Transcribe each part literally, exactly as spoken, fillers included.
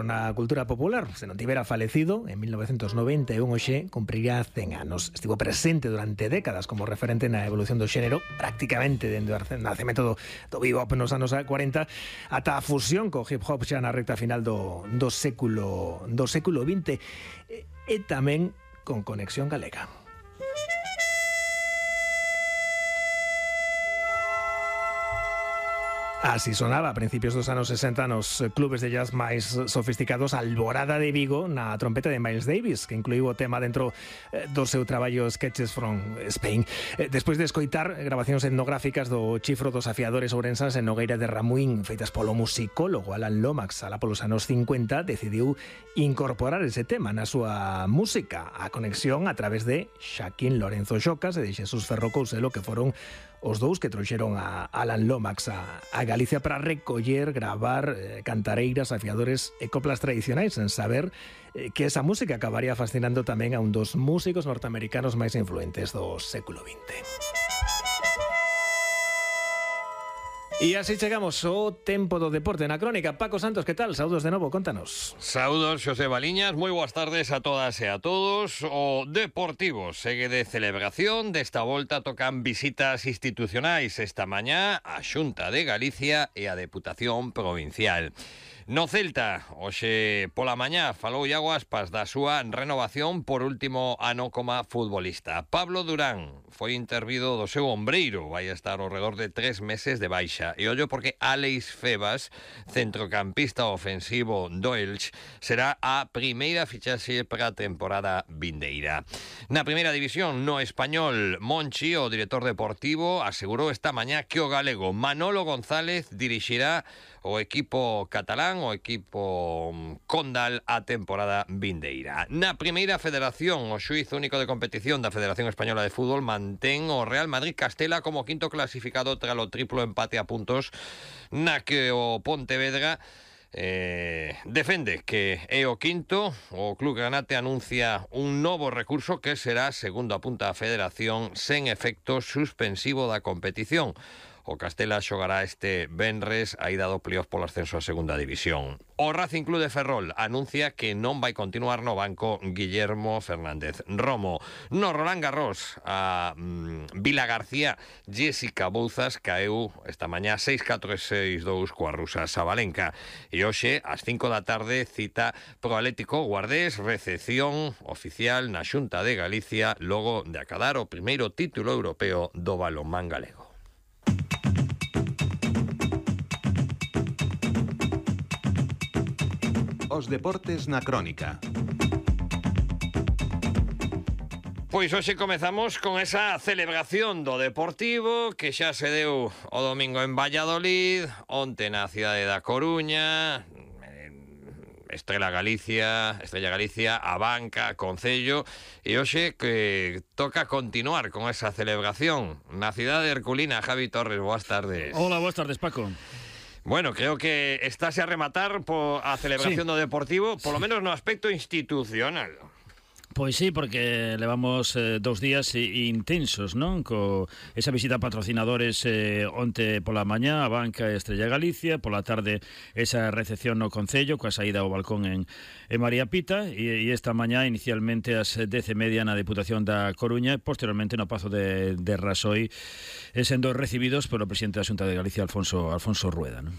Na cultura popular, se non tivera falecido, en mil novecientos noventa e un hoxe cumpriría cen anos. Estivo presente durante décadas como referente na evolución do xénero, prácticamente dende o nacemento do, do bebop nos anos cuarenta ata a fusión co hip hop xa na recta final do, do século do século vinte e, e tamén con conexión galega. Así sonaba a principios dos anos sesenta nos clubes de jazz máis sofisticados Alborada de Vigo na trompeta de Miles Davis, que incluiu o tema dentro do seu traballo Sketches from Spain. Despois de escoitar grabacións etnográficas do chifro dos afiadores ourensans en Nogueira de Ramuín, feitas polo musicólogo Alan Lomax alá polos anos cincuenta, decidiu incorporar ese tema na súa música, a conexión a través de Xaquín Lorenzo Xocas e de Xesús Ferro Couselo, que foron os dous que trouxeron a Alan Lomax a, a Galicia para recoller, gravar eh, cantareiras, afiadores e coplas tradicionais, sen saber eh, que esa música acabaría fascinando tamén a un dos músicos norteamericanos máis influentes do século vinte. E así chegamos ao tempo do deporte na crónica. Paco Santos, que tal? Saúdos de novo, contanos. Saúdos, Xosé Baliñas, moi boas tardes a todas e a todos. O Deportivo segue de celebración. Desta volta tocan visitas institucionais esta mañá a Xunta de Galicia e a Deputación Provincial. No Celta, hoxe pola mañá falou Iago Aspas da súa renovación por último ano como futbolista. Pablo Durán foi intervido do seu ombreiro, vai estar ao redor de tres meses de baixa. E ollo porque Álex Febas, centrocampista ofensivo do Elche, será a primeira fichaxe para a temporada vindeira. Na primeira división, no español, Monchi, o director deportivo, asegurou esta mañá que o galego Manolo González dirixirá o equipo catalán, o equipo Condal, a temporada vindeira. Na primeira federación, o xuíz único de competición da Federación Española de Fútbol mantén o Real Madrid Castela como quinto clasificado tras o triplo empate a puntos na que o Pontevedra Eh, defende que é o quinto. O Club Granate anuncia un novo recurso que será, segundo apunta a Federación, sen efecto suspensivo da competición. O Castela xogará este venres a ida do playoff polo ascenso a segunda división. O Racing Club de Ferrol anuncia que non vai continuar no banco Guillermo Fernández Romo. No Roland Garros, a mm, Vila García, Jessica Bouzas caeu esta mañá seis catro e seis dous coa rusa Sabalenka. E hoxe, ás cinco da tarde, cita pro Atlético Guardés, recepción oficial na Xunta de Galicia, logo de acadar o primeiro título europeo do balonmán galego. Os deportes na crónica. Pois hoxe comezamos con esa celebración do Deportivo que xa se deu o domingo en Valladolid, onte na cidade da Coruña, Estrela Galicia, Estrella Galicia, a Banca, Concello, e hoxe que toca continuar con esa celebración na cidade herculina. Javi Torres, boas tardes. Hola, boas tardes, Paco. Bueno, creo que estáse a rematar por a celebración sí. do Deportivo, polo menos no aspecto institucional. Pois sí, porque levamos eh, dous días intensos, non? Co esa visita a patrocinadores eh, onte pola mañá a Banca e Estrella Galicia, pola tarde esa recepción no Concello coa saída ao balcón en, en María Pita e, e esta mañá inicialmente ás dez e media na Deputación da Coruña e posteriormente no Pazo de, de Rasoi eh, sendo recibidos polo presidente da Xunta de Galicia, Alfonso, Alfonso Rueda, non?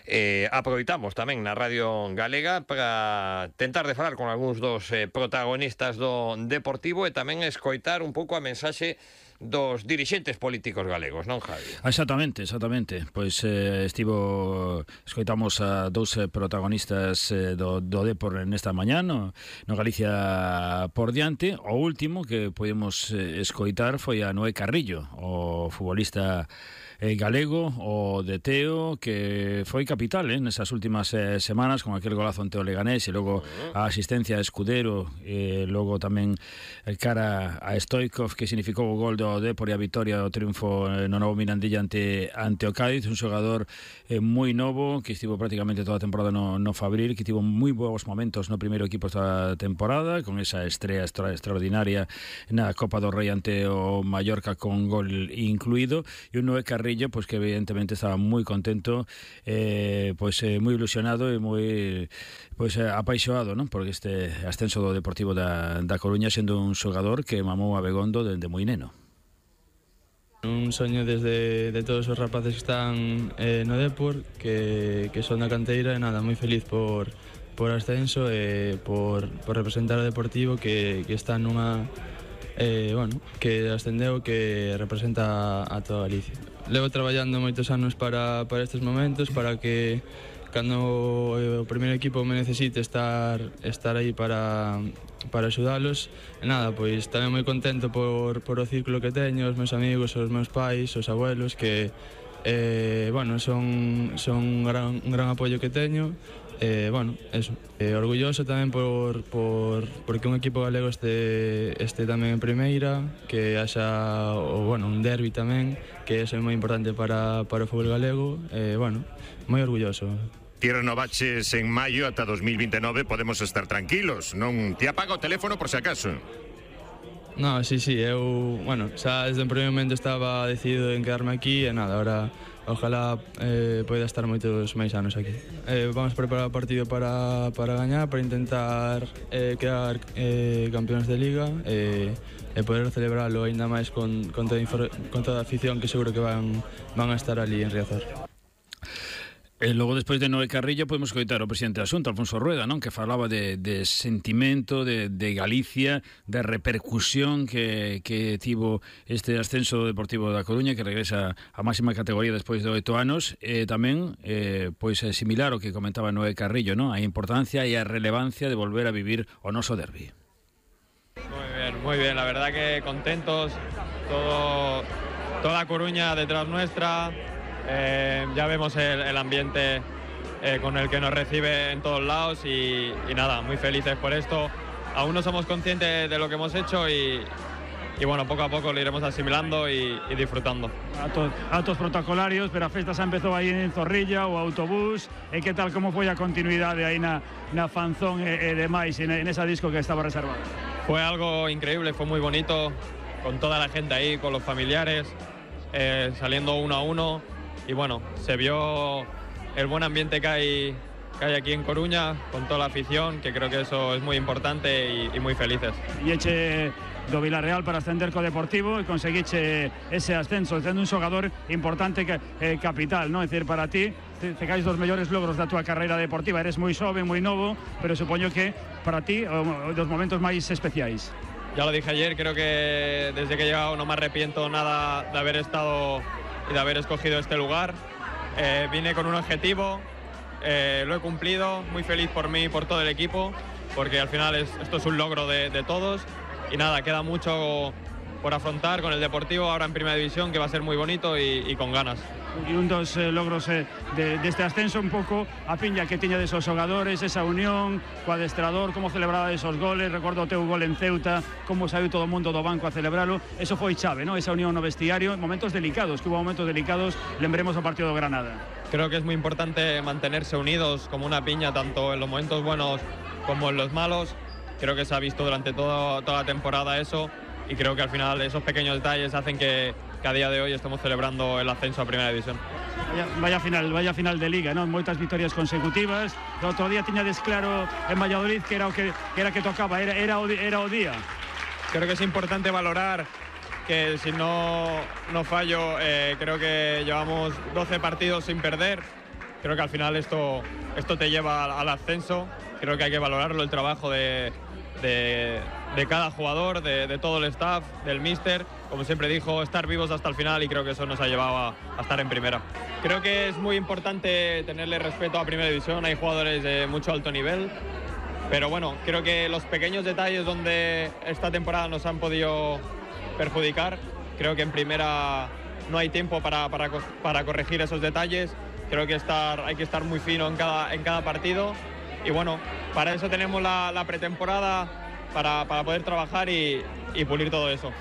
Eh, aproveitamos tamén na Radio Galega para tentar de falar con algúns dos eh, protagonistas do Deportivo e tamén escoitar un pouco a mensaxe dos dirixentes políticos galegos, non, Javi? Exactamente, exactamente. Pois eh, estivo, escoitamos a dous eh, protagonistas eh, do, do Depor nesta mañá, no, no Galicia por diante. O último que podemos eh, escoitar foi a Noé Carrillo, o futbolista eh, galego, o de Teo, que foi capital eh, nesas últimas eh, semanas con aquel golazo ante o Leganés e logo a asistencia a Escudero e logo tamén el cara a Stoikov que significou o gol do ao Dépor e a vitoria o triunfo no novo Mirandilla ante, ante o Cádiz, un xogador eh, moi novo que estivo prácticamente toda a temporada no, no Fabril, que tivo moi bons momentos no primeiro equipo esta temporada, con esa estrella extra, extraordinaria na Copa do Rei ante o Mallorca con gol incluído, e un Noé Carrillo pois que evidentemente estaba moi contento, eh, pois eh, moi ilusionado e moi pois eh, apaixoado, non? Porque este ascenso do Deportivo da, da Coruña, sendo un xogador que mamou a Begondo dende moi neno. Un soño desde de todos os rapaces que están eh, no Depor, que, que son da canteira, e nada, moi feliz por, por ascenso e por, por representar o Deportivo que, que está nunha eh, bueno, que ascendeu, que representa a, a toda Galicia. Levo traballando moitos anos para, para estes momentos, para que cando o primeiro equipo me necesite estar estar aí para para axudalos. E nada, pois tamén moi contento por, por o círculo que teño, os meus amigos, os meus pais, os abuelos, que eh, bueno, son, son un, gran, un gran apoio que teño. Eh, bueno, eso. Eh, orgulloso tamén por, por porque un equipo galego este, este tamén en primeira, que haxa o, bueno, un derbi tamén, que eso é moi importante para, para o fútbol galego. Eh, bueno, moi orgulloso. Ti renovaches en maio ata dos mil veintinueve, podemos estar tranquilos, non te apaga o teléfono por se acaso. No, sí, sí, eu, bueno, xa desde o primeiro momento estaba decidido en quedarme aquí e nada, ahora ojalá eh, poida estar moitos máis anos aquí. Eh, vamos a preparar o partido para, para gañar, para intentar eh, quedar eh, campeóns de Liga e, e poder celebralo aínda máis con, con, toda, con toda a afición que seguro que van, van a estar ali en Riazor. E logo, despois de Noé Carrillo, podemos coitar o presidente da Xunta, Alfonso Rueda, non? Que falaba de, de sentimento, de, de Galicia, de repercusión que, que tivo este ascenso Deportivo da Coruña, que regresa á máxima categoría despois de oito anos, e tamén, eh, pois, similar ao que comentaba Noé Carrillo, non? A importancia e a relevancia de volver a vivir o noso derbi. Muy bien, muy bien, la verdad que contentos, todo, toda Coruña detrás nuestra. Eh, ya vemos el, el ambiente eh, con el que nos recibe en todos lados y, y nada, muy felices por esto. Aún no somos conscientes de lo que hemos hecho y, y bueno, poco a poco lo iremos asimilando y, y disfrutando. Atos, atos protocolarios, pero a festa xa empezou aí en Zorrilla, o autobús, e que tal, como foi a continuidade aí na, na fanzón e, e demais, en, en esa disco que estaba reservada? Fue algo increíble, fue muy bonito, con toda la gente ahí, con los familiares, eh, saliendo uno a uno. Y bueno, se vio el buen ambiente que hay, que hay aquí en Coruña, con toda la afición, que creo que eso es muy importante y, y muy felices. Y eche do Villarreal para ascender co Deportivo e conseguiche ese ascenso, sendo un xogador importante que eh, capital, ¿no? É dicir, para ti, te, te caes dos mellores logros da túa carreira deportiva, eres moi xoven, moi novo, pero supoño que para ti, o, dos momentos máis especiais. Ya lo dije ayer, creo que desde que he llegado no me arrepiento nada de haber estado y de haber escogido este lugar. Eh, vine con un objetivo, eh, lo he cumplido, muy feliz por mí y por todo el equipo, porque al final es, esto es un logro de, de todos y nada, queda mucho por afrontar con el Deportivo ahora en Primera División, que va a ser muy bonito y, y con ganas. E un dos eh, logros eh, de, deste ascenso, un pouco a piña que tiña desos xogadores, esa unión co adestrador, como celebraba esos goles, recordo o teu gol en Ceuta, como saiu todo o mundo do banco a celebralo, eso foi chave, ¿no? Esa unión no vestiario, momentos delicados, que hubo momentos delicados, lembremos o partido do Granada. Creo que es muy importante mantenerse unidos como una piña, tanto en los momentos buenos como en los malos. Creo que se ha visto durante todo, toda la temporada eso, y creo que al final esos pequeños detalles hacen que que a día de hoy estamos celebrando el ascenso a Primera División. Vaya, vaya final, vaya final de Liga, ¿no? Moitas victorias consecutivas. O outro día tiñades claro en Valladolid que era o que, que era que tocaba, era, era, o, era o día. Creo que es importante valorar que si no, no fallo, eh, creo que llevamos doce partidos sin perder. Creo que al final esto, esto te lleva al, al ascenso. Creo que hay que valorarlo, el trabajo de, de, de cada jugador, de, de todo el staff, del míster. Como siempre dijo, estar vivos hasta el final, y creo que eso nos ha llevado a, a estar en primera. Creo que es muy importante tenerle respeto a Primera División, hay jugadores de mucho alto nivel, pero bueno, creo que los pequeños detalles donde esta temporada nos han podido perjudicar, creo que en primera no hay tiempo para, para, para corregir esos detalles. Creo que estar, hay que estar muy fino en cada, en cada partido, y bueno, para eso tenemos la, la pretemporada, para, para poder trabajar y, y pulir todo eso.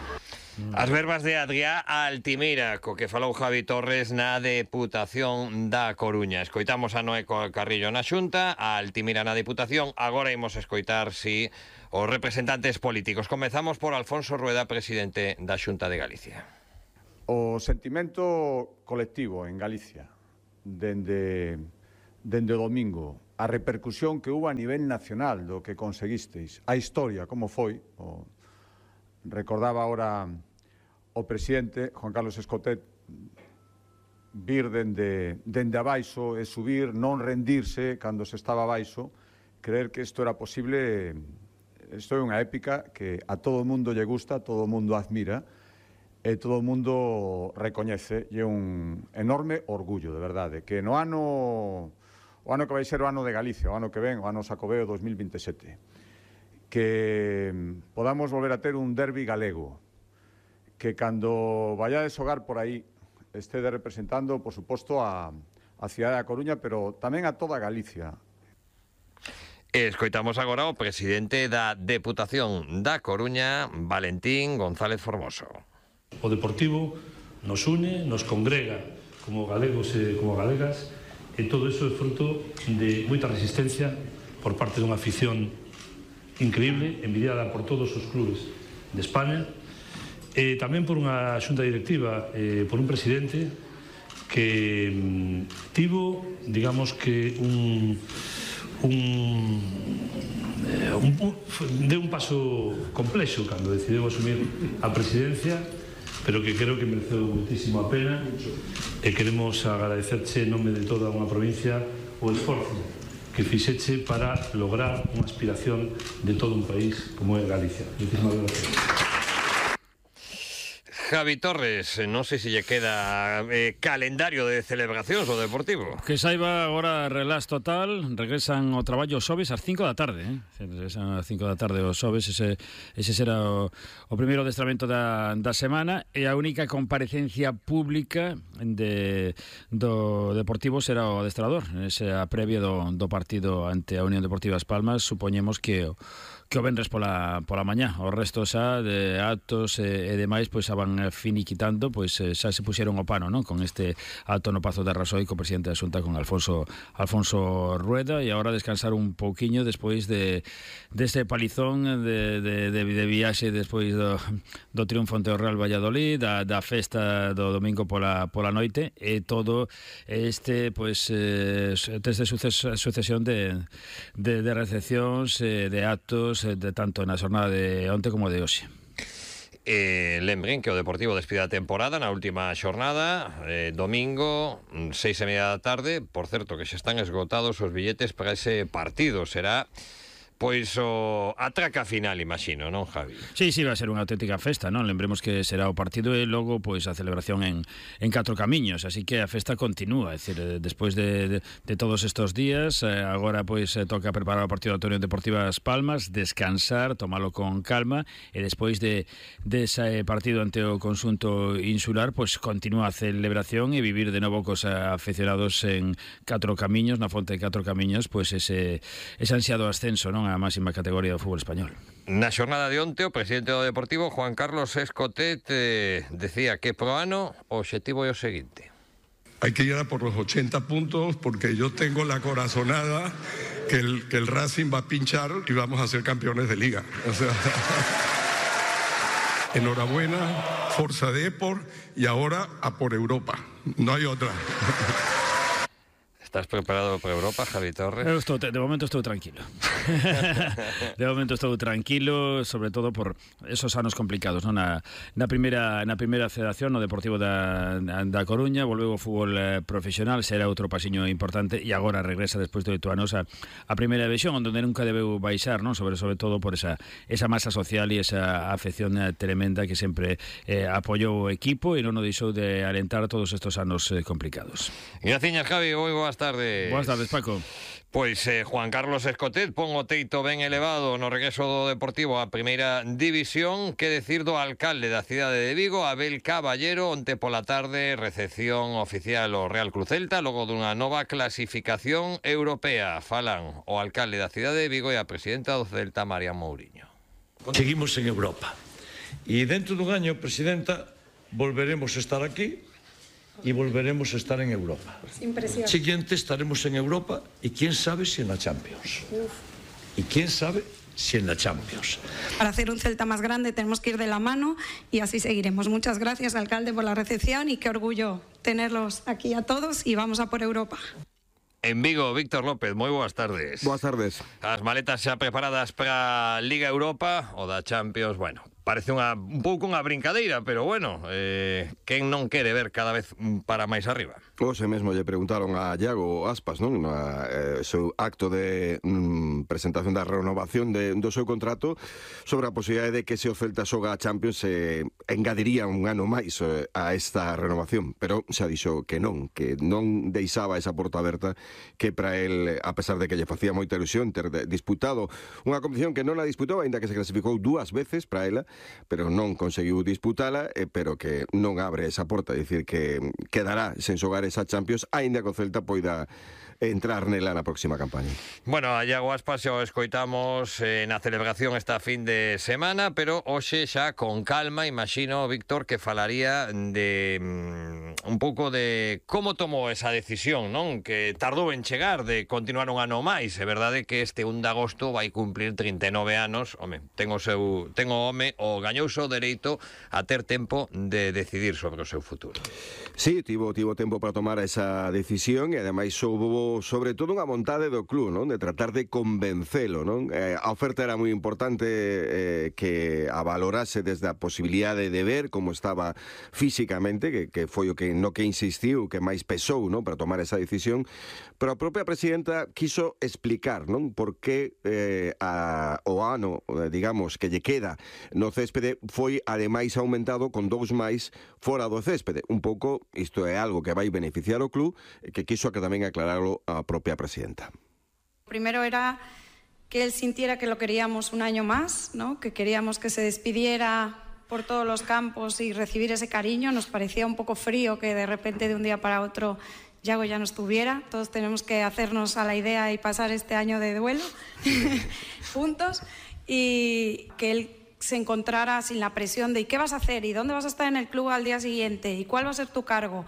As verbas de Adrià Altimira, co que falou Javi Torres na Deputación da Coruña. Escoitamos a Noé Carrillo na Xunta, a Altimira na Deputación. Agora imos escoitar, si, os representantes políticos. Comezamos por Alfonso Rueda, presidente da Xunta de Galicia. O sentimento colectivo en Galicia, dende, dende o domingo, a repercusión que hubo a nivel nacional do que conseguisteis, a historia, como foi, o, recordaba ahora o presidente, Juan Carlos Escotet, vir dende, dende abaixo e subir, non rendirse cando se estaba abaixo, creer que isto era posible. Isto é unha épica que a todo o mundo lle gusta, a todo o mundo admira, e todo o mundo recoñece, e é un enorme orgullo, de verdade, que no ano, o ano que vai ser o ano de Galicia, o ano que ven, o ano Xacobeo dos mil veintesete, que podamos volver a ter un derbi galego, que cando vayades xogar por aí estede representando, por suposto, a, a cidade da Coruña, pero tamén a toda Galicia. Escoitamos agora o presidente da Deputación da Coruña, Valentín González Formoso. O Deportivo nos une, nos congrega como galegos e como galegas, e todo iso é fruto de moita resistencia por parte dunha afición increíble, envidiada por todos os clubes de España, e tamén por unha xunta directiva, eh, por un presidente que mm, tivo, digamos que un, un, eh, un, un de un paso complexo cando decidiu asumir a presidencia, pero que creo que mereceu muitísimo a pena, e queremos agradecerche en nome de toda unha provincia o esforzo que fixeche para lograr unha aspiración de todo un país como é Galicia. Muchísimas gracias. Javi Torres, non sei se lle queda eh, calendario de celebracións o Deportivo. Que saiba agora relax total, regresan ao traballo os xoves ás cinco da tarde, eh? Regresan ás cinco da tarde os xoves, ese, ese será o, o primeiro adestramento da, da semana, e a única comparecencia pública de, do Deportivo será o adestrador, ese a previa do, do partido ante a Unión Deportiva As Palmas. Supoñemos que o que o venres pola, pola mañá. O resto xa de actos e, e demais pois xa van finiquitando, pois xa se puxeron o pano, non? Con este acto no Pazo de Arrasoi co presidente da Xunta, con Alfonso Alfonso Rueda, e agora descansar un pouquiño despois de deste palizón de, de, de, de viaxe despois do, do triunfo ante o Real Valladolid, da, da festa do domingo pola, pola noite, e todo este pois eh, desde sucesión de, de, de recepcións, eh, de actos, de tanto na xornada de onte como de hoxe. Eh, lembren que o Deportivo despide a temporada na última xornada, eh, domingo, seis e media da tarde. Por certo, que xa están esgotados os billetes para ese partido. Será pois o atraca final, imagino, non, Javi? Sí, sí, va a ser unha auténtica festa, non? Lembremos que será o partido e logo pois a celebración en, en catro camiños, así que a festa continúa, é dicir, despois de, de, de todos estos días, eh, agora pois eh, toca preparar o partido da Unión Deportiva As Palmas, descansar, tomalo con calma, e despois de, de ese partido ante o conxunto insular, pois continúa a celebración e vivir de novo cos aficionados en catro camiños, na fonte de catro camiños, pois ese, ese ansiado ascenso, non? A máxima categoría do fútbol español. Na xornada de onte, o presidente do Deportivo, Juan Carlos Escotet, eh, decía que pro ano o obxectivo é o seguinte: hay que ir a por los ochenta puntos, porque yo tengo la corazonada que el, que el Racing va a pinchar y vamos a ser campeones de liga. O sea, enhorabuena, Forza Depor, y ahora a por Europa. No hay otra. Estás preparado para Europa, Javi Torres? Eu estou, de momento estou tranquilo. De momento estou tranquilo, sobre todo por esos anos complicados, non? Na, na primeira na primeira federación, no Deportivo da, da Coruña, volveu o fútbol eh, profesional, será outro pasiño importante, e agora regresa despois de oito anos a, a primeira división, onde nunca debeu baixar, non? Sobre sobre todo por esa esa masa social e esa afección tremenda que sempre eh, apoiou o equipo e non o deixou de alentar todos estos anos eh, complicados. Graciñas, Javi, moi boas tardes. Boas tardes, Paco. Pois eh, Juan Carlos Escotet pon o teito ben elevado no regreso do Deportivo á primeira división. Que decir do alcalde da cidade de Vigo, Abel Caballero, onte pola tarde recepción oficial ao Real Cruz Celta logo dunha nova clasificación europea. Falan o alcalde da cidade de Vigo e a presidenta do Celta, María Mouriño. Seguimos en Europa Y dentro de un año, Presidenta, volveremos a estar aquí y volveremos a estar en Europa. Sin presión. Siguiente estaremos en Europa y quién sabe si en la Champions. Uf. Y quién sabe si en la Champions. Para hacer un Celta más grande tenemos que ir de la mano y así seguiremos. Muchas gracias, alcalde, por la recepción y qué orgullo tenerlos aquí a todos y vamos a por Europa. En Vigo, Víctor López, moi boas tardes. Boas tardes. As maletas xa preparadas para a Liga Europa ou da Champions, bueno, parece unha, un pouco unha brincadeira, pero bueno, eh, quen non quere ver cada vez para máis arriba? Hoxe mesmo lle preguntaron a Iago Aspas, non? Na eh, seu acto de mm, presentación da renovación de, do seu contrato sobre a posibilidade de que se o Celta xoga a Champions se eh, engadiría un ano máis eh, a esta renovación, pero xa dixo que non, que non deixaba esa porta aberta, que para el, a pesar de que lle facía moita ilusión ter disputado unha competición que non a disputou, aínda que se clasificou dúas veces para ela, pero non conseguiu disputala, eh, pero que non abre esa porta, é dicir que quedará sen xogar esa Champions, aínda que o Celta poida entrar nela na próxima campaña. Bueno, a Iago Aspas xa o escoitamos eh, na celebración esta fin de semana, pero hoxe xa con calma, imagino, Víctor, que falaría de mm, un pouco de como tomou esa decisión, non? Que tardou en chegar de continuar un ano máis. É verdade que este un de agosto vai cumplir trinta e nove anos. Home, ten o seu, ten o home o gañouse o dereito a ter tempo de decidir sobre o seu futuro. Sí, tivo, tivo tempo para tomar esa decisión e ademais houve sobre todo unha vontade do club, non? De tratar de convencelo, non? Eh, a oferta era moi importante eh, que a valorase desde a posibilidade de ver como estaba físicamente, que, que foi o que no que insistiu, que máis pesou, non? Para tomar esa decisión, pero a propia presidenta quiso explicar, non? Por que eh, a, o ano, digamos, que lle queda no céspede foi ademais aumentado con dous máis fora do céspede. Un pouco, isto é algo que vai beneficiar o club, que quiso que tamén aclararlo a propia presidenta. Primero era que él sintiera que lo queríamos un año más, ¿no? Que queríamos que se despidiera por todos los campos y recibir ese cariño. Nos parecía un poco frío que de repente de un día para otro Iago ya no estuviera. Todos tenemos que hacernos a la idea y pasar este año de duelo juntos, y que él se encontrara sin la presión de ¿y qué vas a hacer? ¿Y dónde vas a estar en el club al día siguiente? ¿Y cuál va a ser tu cargo?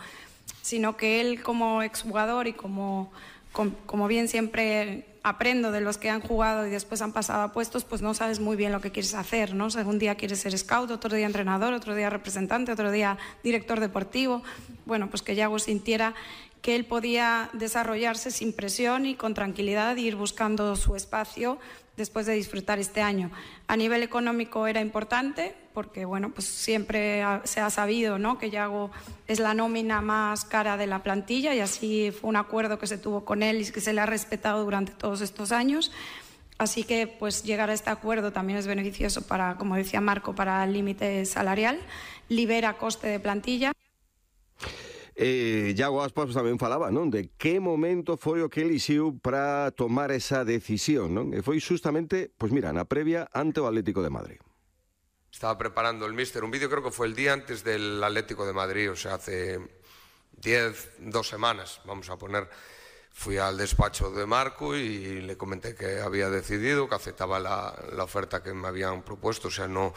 Sino que él, como exjugador y como, como, como bien siempre aprendo de los que han jugado y después han pasado a puestos, pues no sabes muy bien lo que quieres hacer, ¿no? O sea, un día quieres ser scout, otro día entrenador, otro día representante, otro día director deportivo. Bueno, pues que Iago sintiera que él podía desarrollarse sin presión y con tranquilidad y ir buscando su espacio después de disfrutar este año. A nivel económico era importante porque, bueno, pues siempre se ha sabido, ¿no?, que Iago es la nómina más cara de la plantilla, y así fue un acuerdo que se tuvo con él y que se le ha respetado durante todos estos años. Así que, pues, llegar a este acuerdo también es beneficioso para, como decía Marco, para el límite salarial, libera coste de plantilla. Eh, Iago Aspas tamén falaba, non, de que momento foi o que elixiu para tomar esa decisión, non? E foi justamente, pois mira, na previa ante o Atlético de Madrid. Estaba preparando el míster un vídeo, creo que fue el día antes del Atlético de Madrid, o sea, hace diez, dos semanas, vamos a poner. Fui al despacho de Marco y le comenté que había decidido, que aceptaba la, la oferta que me habían propuesto, o sea, no...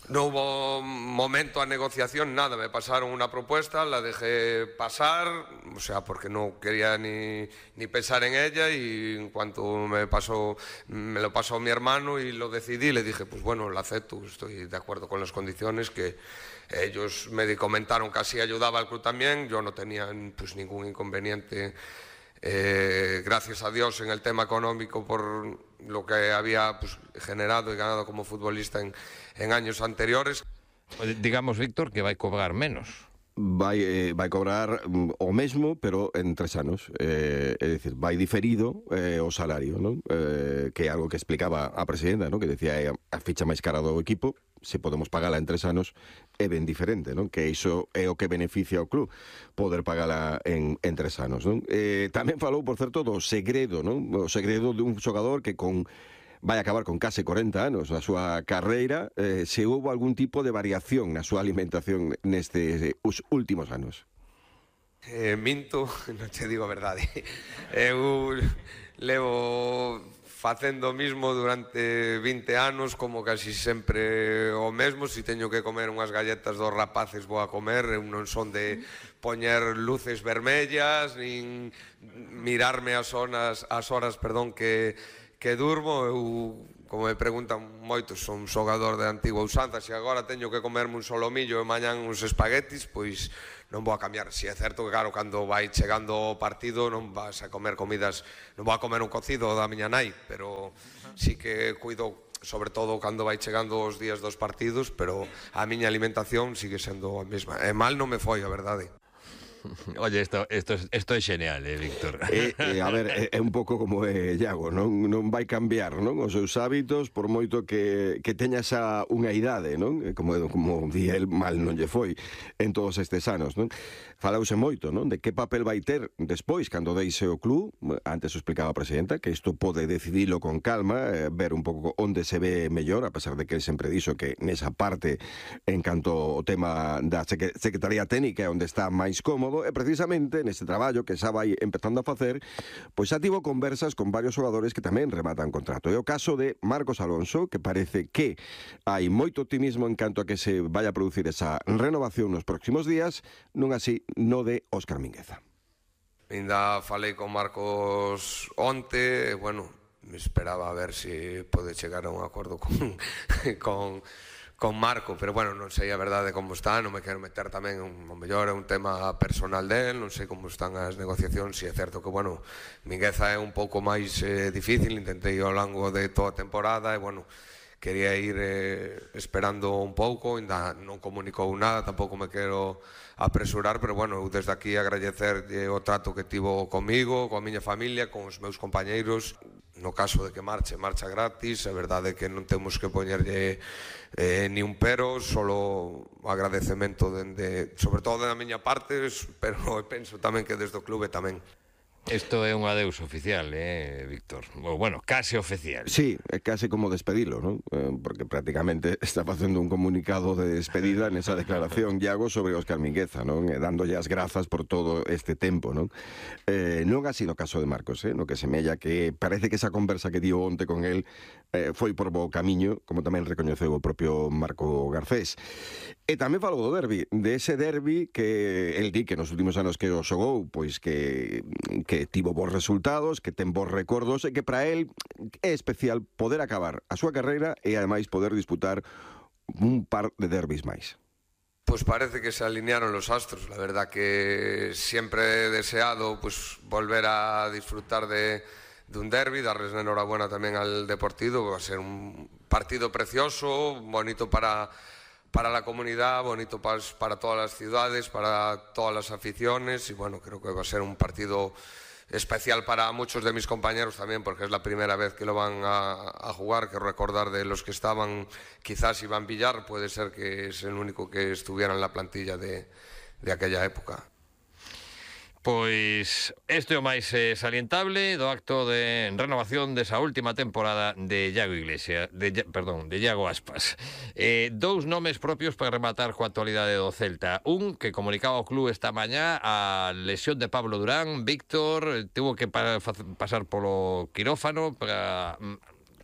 No hubo momento a negociación, nada, me pasaron una propuesta, la dejé pasar, o sea, porque no quería ni, ni pensar en ella, y en cuanto me pasó, me lo pasó mi hermano y lo decidí, le dije, pues bueno, lo acepto, estoy de acuerdo con las condiciones, que ellos me comentaron que así ayudaba al club también, yo no tenía pues ningún inconveniente. Eh, gracias a Dios en el tema económico por lo que había pues, generado y ganado como futbolista en, en años anteriores. Digamos, Víctor, que vai cobrar menos. Vai, eh, vai cobrar mm, o mesmo, pero en tres anos. Eh, é dicir, vai diferido eh, o salario, non? Eh, que é algo que explicaba a presidenta, non? Que decía é a ficha máis cara do equipo, se podemos pagala en tres anos, é ben diferente, non? Que iso é o que beneficia ao club, poder pagala en, en tres anos, non? Eh, tamén falou, por certo, do segredo, non? O segredo de un xogador que con vai acabar con case corenta anos na súa carreira, eh, se houve algún tipo de variación na súa alimentación nestes os últimos anos. Eh, minto, non te digo a verdade. Eu levo facendo o mismo durante vinte anos, como casi sempre o mesmo. Si teño que comer unhas galletas dos rapaces, vou a comer. Eu non son de poñer luces vermellas, nin mirarme as horas, as horas perdón, que, que durmo. Eu, como me preguntan moitos, son xogador de antigua usanza. Se agora teño que comerme un solomillo e mañán uns espaguetis, pois non vou a cambiar. Si é certo que, claro, cando vai chegando o partido non vas a comer comidas, non vou a comer un cocido da miña nai, pero sí que cuido, sobre todo cando vai chegando os días dos partidos, pero a miña alimentación sigue sendo a mesma. E mal non me foi, a verdade. Oye, esto, esto, esto é genial, eh, Víctor. Eh, eh, a ver, é, é un pouco como é Iago, non, non vai cambiar, non, os seus hábitos, por moito que, que teña xa unha idade, non? Como, como di el, mal non lle foi en todos estes anos, non? Falause moito, non? De que papel vai ter despois, cando deixe o club. Antes o explicaba a presidenta, que isto pode decidilo con calma, eh, ver un pouco onde se ve mellor, a pesar de que el sempre dixo que nesa parte, en canto o tema da Secretaría Técnica é onde está máis cómodo, e precisamente neste traballo que xa vai empezando a facer, pois xa tivo conversas con varios xogadores que tamén rematan contrato. É o caso de Marcos Alonso, que parece que hai moito optimismo en canto a que se vai a producir esa renovación nos próximos días, non así no de Óscar Mingueza. Ainda falei con Marcos onte, e, bueno, me esperaba a ver se pode chegar a un acordo con... con con Marco, pero bueno, non sei a verdade como está, non me quero meter tamén, o mellor é un tema personal del, non sei como están as negociacións. Si é certo que, bueno, Mingueza é un pouco máis eh, difícil, intentei ao longo de toda a temporada e, bueno, quería ir eh, esperando un pouco, ainda non comunicou nada, tampouco me quero apresurar, pero bueno, eu desde aquí agradecer o trato que tivo comigo, coa miña familia, con os meus compañeiros. No caso de que marche, marcha gratis. A verdade é que non temos que poñerlle eh, ni un pero, solo agradecemento dende, sobre todo da miña parte, pero penso tamén que desde o clube tamén. Isto é un adeus oficial, eh, Víctor? Bueno, case oficial. Sí, é case como despedilo, non? Eh, porque prácticamente está facendo un comunicado de despedida nesa declaración, Iago, sobre Óscar Mingueza, non? E dándolle as grazas por todo este tempo, non? Eh, non ha sido o caso de Marcos, eh? No que semella que parece que esa conversa que dio onte con el eh, foi por bo camiño, como tamén recoñeceu o propio Marco Garcés. E tamén falou do derbi, de ese derbi que el di que nos últimos anos que o xogou, pois que, que tivo bons resultados, que ten bons recordos e que para el é especial poder acabar a súa carreira e ademais poder disputar un par de derbis máis. Pues parece que se alinearon los astros. La verdad que siempre he deseado pues volver a disfrutar de, de un derbi, darles la enhorabuena también al Deportivo. Va a ser un partido precioso, bonito para... para la comunidad, bonito para, para todas las ciudades, para todas las aficiones, y bueno, creo que va a ser un partido especial para muchos de mis compañeros también, porque es la primera vez que lo van a, a jugar. Quiero recordar de los que estaban, quizás Iván Villar, puede ser que es el único que estuviera en la plantilla de, de aquella época. Pois este é o máis eh, salientable do acto de renovación desa última temporada de Iago Iglesias, de, perdón, de Iago Aspas. Eh, dous nomes propios para rematar coa actualidade do Celta. Un que comunicaba ao club esta mañá a lesión de Pablo Durán. Víctor tuvo que pa pasar polo quirófano para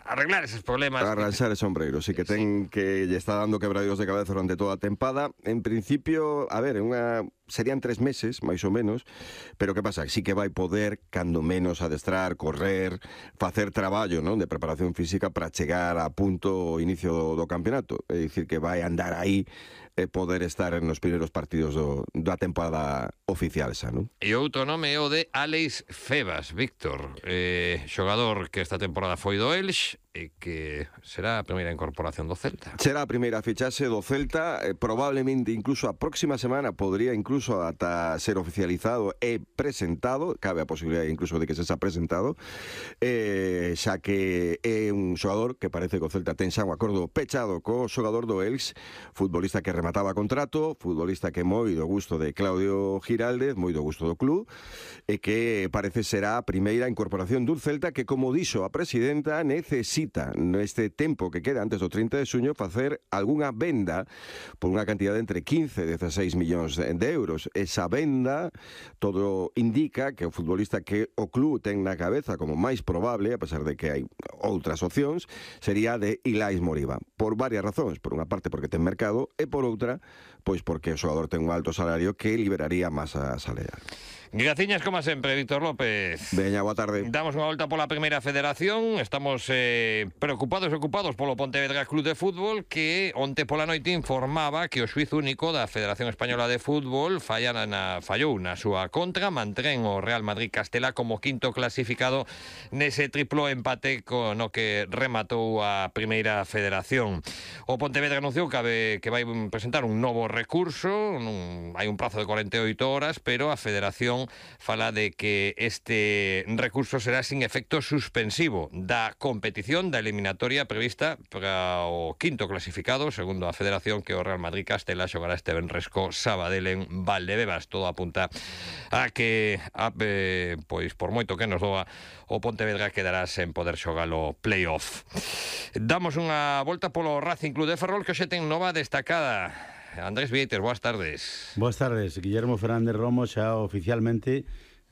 arreglar esos problemas. Para arranxar ese sombreiro, sí que ten sí. que lle está dando quebradeiros de cabeza durante toda a tempada. En principio, a ver, unha serían tres meses, máis ou menos, pero que pasa? Sí que vai poder, cando menos, adestrar, correr, facer traballo, non, de preparación física para chegar a punto o inicio do, do campeonato. É dicir, que vai andar aí e poder estar nos primeiros partidos do, da temporada oficial xa, non? E outro nome é o de Álex Febas, Víctor, eh, xogador que esta temporada foi do Elx e que será a primeira incorporación do Celta. Será a primeira fichaxe do Celta, eh, probablemente incluso a próxima semana podría incluso ata ser oficializado e presentado, cabe a posibilidade incluso de que se xa presentado, eh, xa que é un xogador que parece que o Celta ten xa un acordo pechado co xogador do Elx, futbolista que remataba contrato, futbolista que moi do gusto de Claudio Giraldez, moi do gusto do club, e que parece será a primeira incorporación dun Celta que, como dixo a presidenta, necesita solicita neste tempo que queda antes do trinta de xuño facer algunha venda por unha cantidad de entre quince e dezasseis millóns de euros. Esa venda todo indica que o futbolista que o club ten na cabeza como máis probable, a pesar de que hai outras opcións, sería de Ilais Moriba. Por varias razóns. Por unha parte porque ten mercado e por outra, pois porque o xogador ten un alto salario que liberaría masa salarial. Graciñas, como sempre, Víctor López. Veña, boa tarde. Damos unha volta pola Primeira Federación. Estamos eh, preocupados e ocupados polo Pontevedra Club de Fútbol, que onte pola noite informaba que o xuiz único da Federación Española de Fútbol fallana na, fallou na súa contra, mantén o Real Madrid Castela como quinto clasificado nese triplo empate co, no que rematou a Primeira Federación. O Pontevedra anunciou que, que vai presentar un novo recurso, un, hai un prazo de cuarenta e oito horas, pero a Federación fala de que este recurso será sin efecto suspensivo da competición da eliminatoria prevista para o quinto clasificado, segundo a Federación, que o Real Madrid Castela xogará este venres co Sabadell en Valdebebas. Todo apunta a que a, eh, pois por moito que nos doa, o Pontevedra quedará sen poder xogar o play-off. Damos unha volta polo Racing Club de Ferrol, que hoxe ten nova destacada. Andrés Vieites, boas tardes. Boas tardes. Guillermo Fernández Romo xa oficialmente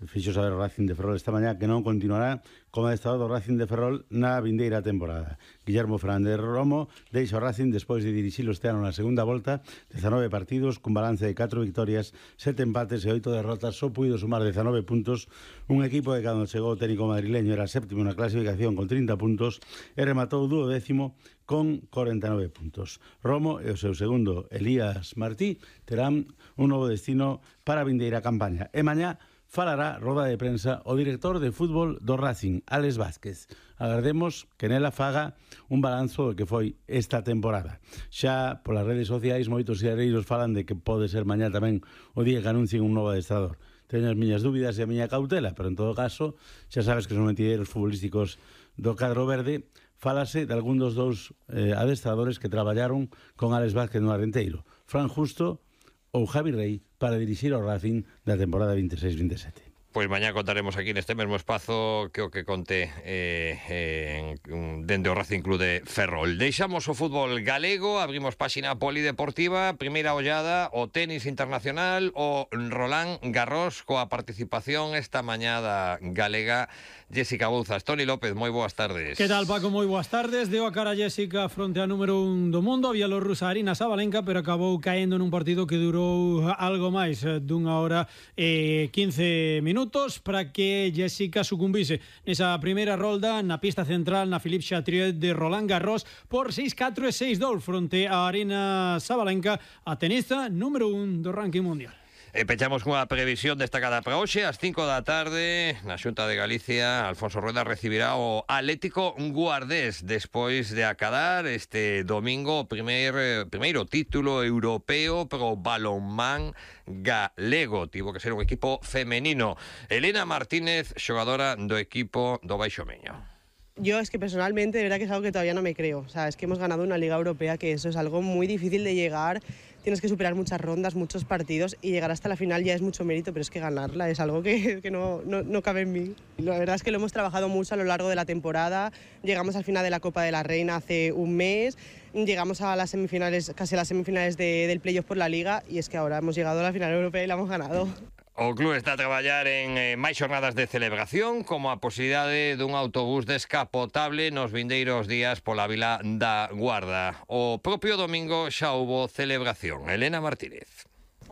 fixo saber o Racing de Ferrol esta mañá que non continuará como adestrador do Racing de Ferrol na vindeira temporada. Guillermo Fernández Romo deixa o Racing despois de dirixilo este ano na segunda volta, dezanove partidos cun balance de catro victorias, sete empates e oito derrotas, só puido sumar dezanove puntos, un equipo que cando chegou o técnico madrileño era séptimo na clasificación con trinta puntos e rematou duodécimo con cuarenta e nove puntos. Romo e o seu segundo Elías Martí terán un novo destino para a vindeira campaña. E mañá falará roda de prensa o director de fútbol do Racing, Alex Vázquez. Agardemos que nela faga un balanzo do que foi esta temporada. Xa polas redes sociais moitos xereiros falan de que pode ser mañá tamén o día que anuncien un novo adestrador. Teño as miñas dúbidas e a miña cautela, pero en todo caso, xa sabes que son mentideiros futbolísticos do cadro verde. Fálase de algún dos dous eh, adestradores que traballaron con Alex Vázquez no Arenteiro, Fran Justo ou Javi Rey, para dirixir o Racing da temporada veintiséis veintisiete. Pois mañá contaremos aquí neste mesmo espazo que o que conté eh, eh, dende o Racing Club de Ferrol. Deixamos o fútbol galego, abrimos páxina polideportiva, primeira ollada, o tenis internacional, o Roland Garros, coa participación esta mañá da galega Jessica Bouzas. Toni López, moi boas tardes. Que tal, Paco? Moi boas tardes. Deu a cara Jessica fronte a número un do mundo, a bielorrusa Arina Sabalenka, pero acabou caendo nun partido que durou algo máis dunha hora e quince minutos para que Jessica sucumbise nesa primeira rolda na pista central na Philippe Chatrier de Roland Garros por seis catro e seis dous fronte a Arina Sabalenka, a tenista número un do ranking mundial. E pechamos cunha previsión destacada para hoxe, ás cinco da tarde, na Xunta de Galicia, Alfonso Rueda recibirá o Atlético Guardés despois de acadar este domingo o primeiro, primeiro título europeo pro balonmán galego. Tivo que ser un equipo femenino. Elena Martínez, xogadora do equipo do Baixo Miño. Yo es que personalmente, de verdad que es algo que todavía no me creo. O sea, es que hemos ganado una Liga Europea, que eso es algo muy difícil de llegar. Tienes que superar muchas rondas, muchos partidos, y llegar hasta la final ya es mucho mérito, pero es que ganarla es algo que, que no, no, no cabe en mí. La verdad es que lo hemos trabajado mucho a lo largo de la temporada. Llegamos al final de la Copa de la Reina hace un mes, llegamos a las semifinales, casi a las semifinales de, del playoff por la Liga, y es que ahora hemos llegado a la final europea y la hemos ganado. O club está a traballar en eh, máis xornadas de celebración, como a posibilidade dun autobús descapotable nos vindeiros días pola vila da Guarda. O propio domingo xa houbo celebración. Elena Martínez.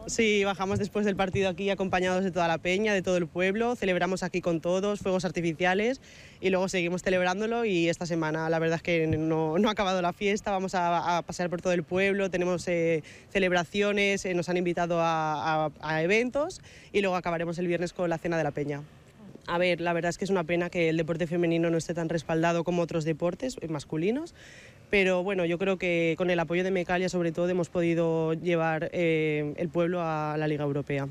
Sí, bajamos después del partido aquí acompañados de toda la peña, de todo el pueblo, celebramos aquí con todos, fuegos artificiales, y luego seguimos celebrándolo, y esta semana la verdad es que no, no ha acabado la fiesta, vamos a, a pasear por todo el pueblo, tenemos eh, celebraciones, eh, nos han invitado a, a, a eventos, y luego acabaremos el viernes con la cena de la peña. A ver, la verdad es que es una pena que el deporte femenino no esté tan respaldado como otros deportes masculinos, pero bueno, yo creo que con el apoyo de Mecalia sobre todo hemos podido llevar eh, el pueblo a la Liga Europea.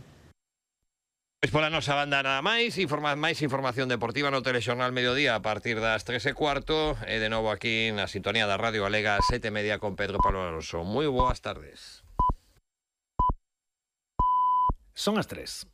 Pois pola nosa banda nada máis, informa, máis información deportiva no Telexornal Mediodía a partir das tres e cuarto, e de novo aquí na sintonía da Radio Galega sete e media con Pedro Pablo Alonso. Moi boas tardes. Son as tres.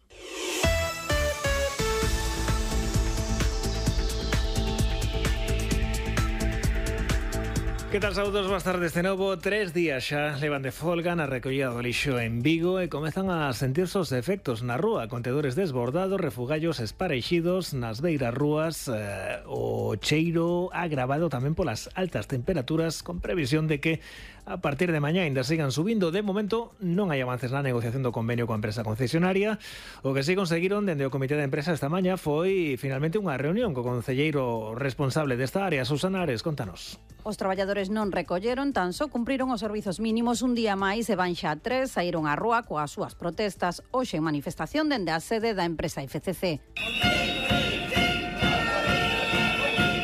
Que tal, saúdos, boas tardes de novo. Tres días xa levan de folga na recollida do lixo en Vigo e comezan a sentirse os efectos na rúa. Contedores desbordados, refugallos espareixidos nas beiras rúas, eh, o cheiro agravado tamén polas altas temperaturas, con previsión de que a partir de mañá ainda sigan subindo. De momento non hai avances na negociación do convenio coa empresa concesionaria. O que si conseguiron dende o comité de empresa esta mañá foi finalmente unha reunión co concelleiro responsable desta área, Susana Ares. Contanos. Os traballadores non recolleron, tan só cumpriron os servizos mínimos un día máis e van xa tres, saíron á rúa coas súas protestas, hoxe en manifestación dende a sede da empresa F C C.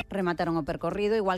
Remataron o percorrido igual